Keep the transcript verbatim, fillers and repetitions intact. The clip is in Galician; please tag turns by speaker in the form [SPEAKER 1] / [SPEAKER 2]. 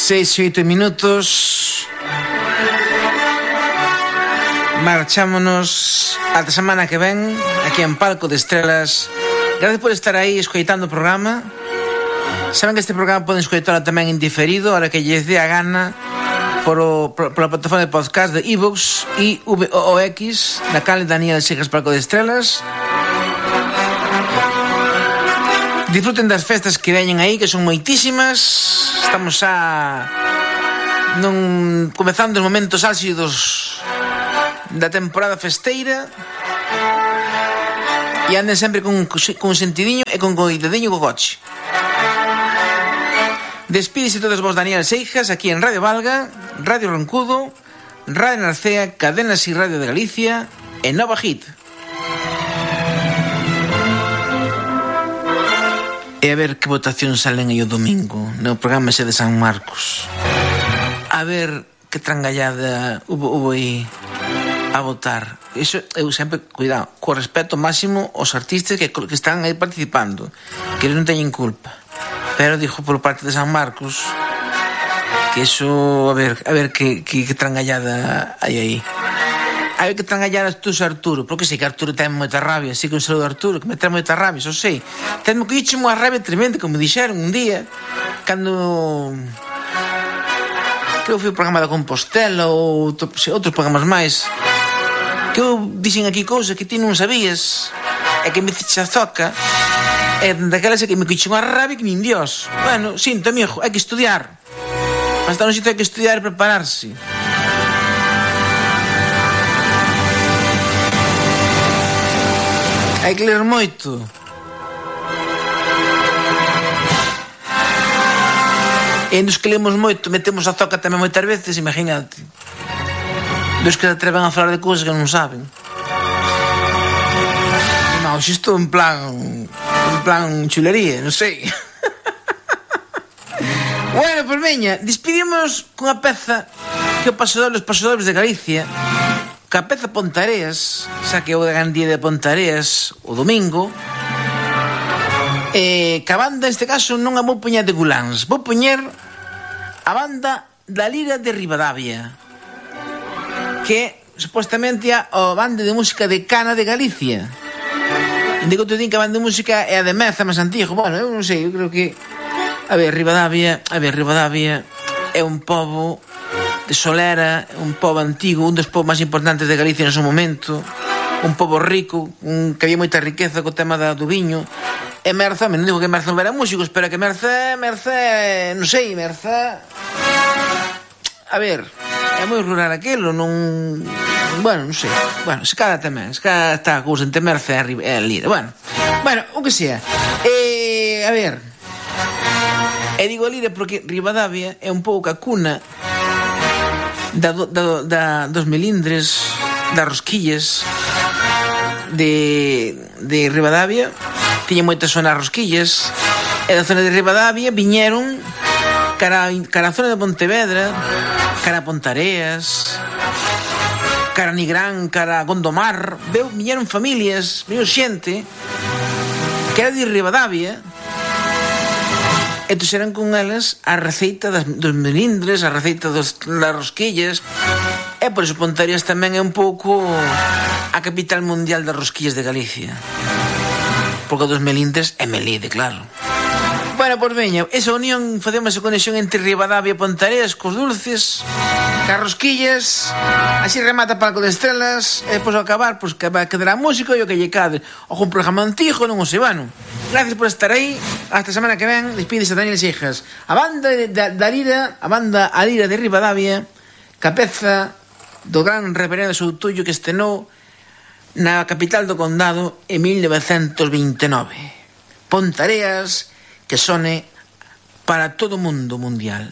[SPEAKER 1] Seis e oito minutos. Marchámonos ata semana que ven aquí en Palco de Estrelas. Gracias por estar aí escoitando o programa. Saben que este programa poden escoitalo tamén en diferido, ahora que lles dé a gana, por o, por, por a plataforma de podcast de iVoox e V O X, na canle Daniel Seixas Palco de Estrelas. Disfruten das festas que veñen aí, que son moitísimas. Estamos a non comezando os momentos álxidos da temporada festeira. E anden sempre con, con sentidiño e con coidadiño co coche. Despídese todos vos Daniel Seixas aquí en Radio Valga, Radio Roncudo, Radio Narcea, Cadenas y Radio de Galicia e Nova Hit. E a ver que votación salen aí o domingo no programa ese de San Marcos. A ver que trangallada hubo, hubo aí a votar. Iso eu sempre, cuidado, co respeto máximo aos artistas que, que están aí participando, que eles non teñen culpa. Pero dixo por parte de San Marcos que iso, a ver, a ver que, que, que trangallada hai aí. A ver que trangalladas tú, Arturo, porque sei que Arturo ten moita rabia, sei que un saludo a Arturo, que me ten moita rabia, xo sei. Tenme que dixo unha rabia tremenda, como dixeron un día, cando creo que foi o programa da Compostela ou outros programas máis, que eu dixen aquí cousas que ti non sabías, e que me ficha a zoca, e daquelas é que me dixo unha rabia que nin Dios. Bueno, sinto, amigo, hai que estudiar. Para estar no sitio hai que estudiar e prepararse. Hai que ler moito. E nos que lemos moito metemos a zoca tamén moitas veces, imagínate. Dos que se atreven a falar de cousas que non saben. Non, isto en plan en plan chulería, non sei. Bueno, pois veña, despedimos cunha peza que o pasador, os pasadores de Galicia, que a peza Pontareas, xa que é o de Gandía de Pontareas o domingo, eh, que a banda, neste caso, non a vou poñer de Guláns, vou poñer a banda da Lira de Ribadavia, que supostamente é a banda de música de Cana de Galicia. Indico te din que a banda de música é a de Meza, máis antigo. Bueno, eu non sei, eu creo que a ver, Ribadavia, a ver, Ribadavia é un pobo de Solera, un pobo antigo, un dos povos máis importantes de Galicia en seu momento, un pobo rico, un que había moita riqueza co tema da, do viño. E Merza, non digo que Merza non era músicos, pero que Merza, Merza, non sei, Merza, a ver, é moi rural aquelo, non, bueno, non sei, bueno, se cada tamén, se cada está a cousa entre Merza e a Lira, bueno, bueno, o que sea, e, a ver, e digo a Lira porque Ribadavia é un pouco a cuna Da, da, da, dos melindres, das rosquillas de, de Ribadavia. Tiña moitas zonas rosquillas, e da zona de Ribadavia viñeron cara, cara a zona de Pontevedra, cara a Pontareas, cara a Nigrán, cara a Gondomar. Veu, viñeron familias, viñeron xente que era de Ribadavia, e tuxeran con elas a receita das, dos melindres, a receita dos, das rosquillas. E por iso Pontareas tamén é un pouco a capital mundial das rosquillas de Galicia, porque dos melindres é Melide, claro. Bueno, pois veña, esa unión, facemos esa conexión entre Ribadavia e Pontareas cos dulces, cas rosquillas. Así remata Palco de Estrelas. E depois ao acabar, pois que vai quedar a música e o que lle cade, ou un programa antigo, non o sei, bueno. Gracias por estar aí. Hasta a semana que ven. Despídese Daniel Seixas. A banda da, da Lira, a banda a Lira de Ribadavia, capeza do gran reverendo Soutullo que estrenou na capital do condado en mil novecentos vinte e nove. Pontareas, que sone para todo o mundo mundial.